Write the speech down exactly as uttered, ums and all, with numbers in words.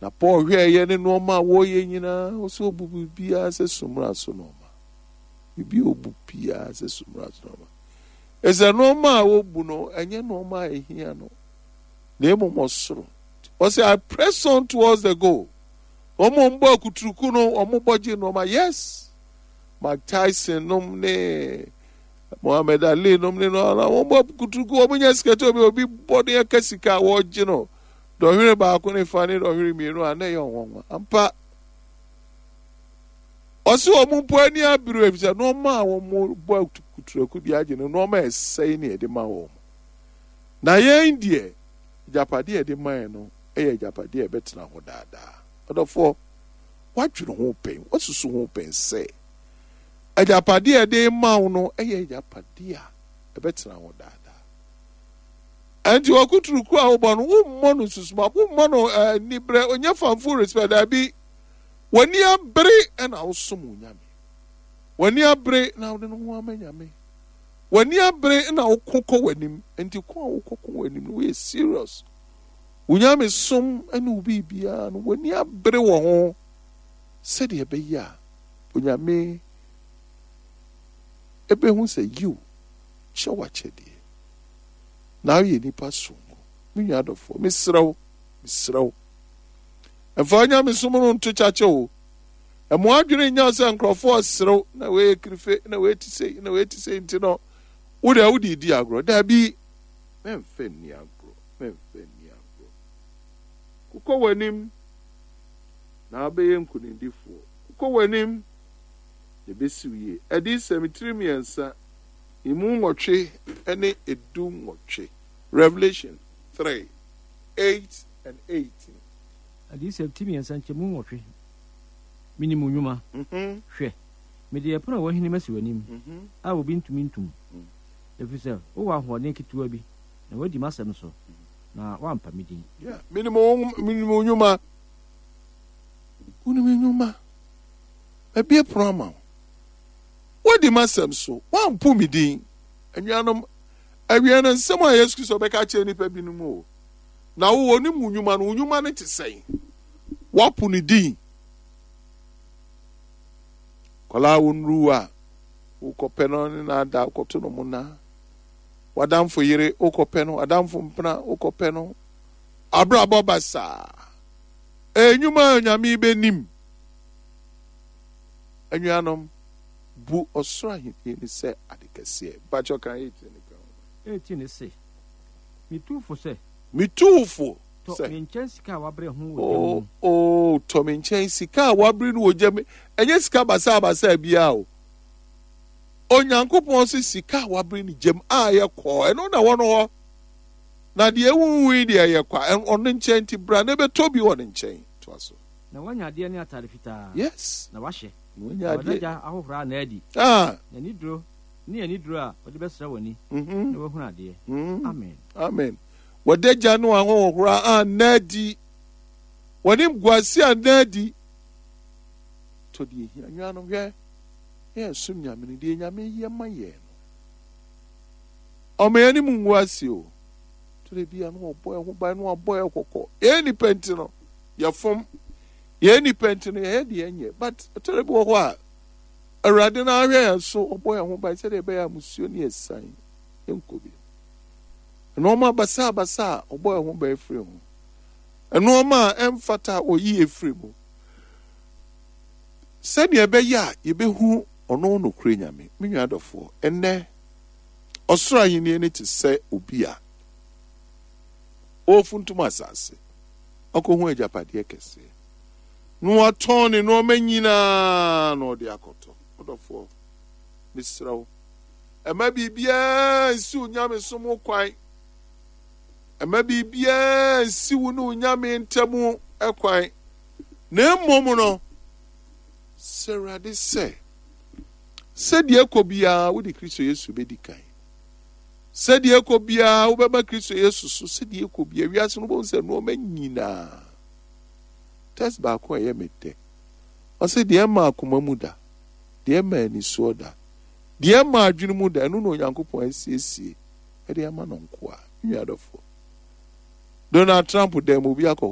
Na Paul hwɛeɛ ne nnoɔma a wɔreyɛ nyinaa, ɔsɛ ɔbu biribiara sɛ sumina so nnoɔma. Biribi a ɔbu biara sɛ sumina so nnoɔma. Ɛsɛ nnoɔma a wɔbu no, ɛnyɛ nnoɔma a ɛhia no, na mmom ɔsoro. Ɔsɛ I press on towards the goal. Wɔn a wɔbɔ akuturuku no, wɔn bɔ gye nnoɔma. Yes, Mike Tyson nom ne Muhammad Ali nom ne no, wɔn bɔ akuturuku, wɔn nya sika tó obi obi bɔ ne ɛka sika a wɔregye no. Dɔhwere baako ne fa ne dɔhwere mmienu a na ɛyɛ ɔnwanwa. Ampa, ɔse wɔn mpo ani abere efisɛ nneɛma a wɔn bɔ akuturuku de agye no, nneɛma a ɛsɛe ne yɛde ma wɔn. Na yɛn deɛ, agyapadeɛ a yɛde ma yɛn no yɛ agyapadeɛ a ɛbɛtena hɔ daadaa. Ɔdɔfoɔ, woadwene ho pɛn, woasusu ho pɛn sɛ agyapadeɛ a yɛde ma wo no yɛ agyapadeɛ a ɛbɛtena hɔ daadaa. Ɛnti wakuturuku a wobɔ no, wommɔ no susuma, wommɔ no anibrɛ, onyɛ fanfo respect, daabi. W'ani abere na wosom wo Nyame. W'ani abere na wode no ho ama Nyame. W'ani abere na woko kɔ w'anim. Nti ko a wokɔ ko w'anim no, woyɛ serious. Wo Nyame som ne wo biribiara no, w'ani abere wɔ ho sɛdeɛ ɛbɛyɛ a Onyame ɛbɛhu sɛ yiw, kyɛ w'akyɛdeɛ. Na woyɛ nipa sononko. Me nua adɔfoɔ, mesrɛ wo, mesrɛ wo. Ɛmfa wo nyamesom no nto kyakya o. Ɛmo adwene nyɛ sɛ nkurɔfoɔ serew na wei yɛ kirife na wei te sei na wei te sei nti no wo deɛ wode di agorɔ. Daabi, mɛmfa nni agorɔ, mɛmfa nni agorɔ. Kokɔ w'anim na wobɛyɛ nkonimdifoɔ. Kokɔ w'anim na ɛbɛsi wo yie. Adiyisɛm tiri mmiɛnsa emu nwɔtwe ne edu nwɔtwe. Revelation three, eight and eighteen. Adiyisɛm ti mmiɛnsa nkyɛmu nwɔtwe. Minim wo nnwuma. Hwɛ, mede ɛpono a wɔahini masi w'anim, a obi ntumi ntom, efisɛ wowɔ ahoɔden ketewa bi, na woadi m'asɛm so, na woampa me din. Yeah, minim wo minim wo nnwuma. Wonim nnwuma. Mabue pono ama wo. Woadi m'asɛm so, woampo me din. Anuanom, awiei no nsɛm a Yesu Kristo bɛka akyerɛ nnipa binom o. Na wo, onim wo nnwuma no, wo nnwuma no te sɛn? Woapo ne din. Kɔlaa wo nnuru a, wokɔpɛ no ne no ada, wokɔto no mona. W'adamfo yere, wokɔpɛ no, adamfo mpena, wokɔpɛ no. Abrabɔ basaa. Nnwuma a Onyame bɛnim. Anuanom, bu ɔsoro ahenni no sɛ ade kɛseɛ. Mpakyɛ kan eighteen no ka ho. Eighteen no se, Metu wo fo sɛ. Metu wo fo sɛ. Tɔ me nkyɛn sika a wabere ho wɔ gya mu. Oh, oh, tɔ me nkyɛn sika a wabere no wɔ gya mu. Ɛnyɛ sika basaabasaa biara o. Onyankopɔn se sika a wabere no gya mu a ɛyɛ kɔɔ, ɛno na ɛwɔ no hɔ. Na deɛ ɛwuwui deɛ ɛyɛ kwa. Ɔno nkyɛn nti bra na ɛbɛtɔ bi wɔ ne nkyɛn. Toa so. Na woanya adeɛ ne atade fitaa. Yes. Na wahyɛ. Na woanya adeɛ. Na w'adagya ahohora anna adi. Ah. Na aniduro ne aniduro a wɔde bɛsra w'ani. Mm-hmm. Na woahunu adeɛ. Mm. Amen. Amen. W'adagya ne w'ahohora anna adi. W'animguase anna adi. Tɔ deɛ ehia. Nuanom hwɛ. Yɛn som Nyame no deɛ Nyame yɛ ma yɛn no. Ɔma yɛn anim ngu ase o. Tɔ bi a no ɔbɔ yɛn ho ban no abɔ yɛn kɔkɔ. Yɛn nipa nti no yɛfom. Yɛn nipa nti no yɛyɛ deɛ ɛnyɛ. But tɔ bi wɔ hɔ a Awurade no ahwɛ yɛn so ɔbɔ yɛn ho ban sɛdeɛ ɛbɛyɛ a musuo ne yɛsan nkɔ bi. Nneɛma basabasa a ɔbɔ yɛn ho ban firi ho. Nneɛma a ɛmfata a ɔyi yɛ firi mu. Sɛdeɛ ɛbɛyɛ a yɛbɛhu ɔno nokorɛ Nyame. Me nua adɔfoɔ, ɛnnɛ ɔsoro ahenni no te sɛ obi a ɔrefuntum asase akɔhu agyapadeɛ kɛseɛ na watɔn ne nneɛma nyinaa na ɔde akɔtɔ. Ɔdɔfoɔ, mesrɛ wo, ɛma biribiara nsi wo nyamesom ho kwan. Ɛma biribiara nsi wo ne wo Nyame ntam kwan. Na mmom no, sɛ Awurade sɛ, sɛdeɛ ɛkɔ biara wode Kristo Yesu bɛdi kan. Sɛdeɛ ɛkɔ biara wobɛma Kristo Yesu so. Sɛdeɛ ɛkɔ biara wiase no wobɛhu sɛ nneɛma nyinaa. Test baako a ɛyɛ me dɛ. Ɔsɛ deɛ ɛma akoma mu da, deɛ ɛma anisoɔ da, deɛ ɛma adwene mu da, ɛno na Onyankopɔn asiesie ɛde ama no nkoa. Nua adɔfoɔ, Donald Trump dan mu obi akɔ hɔ.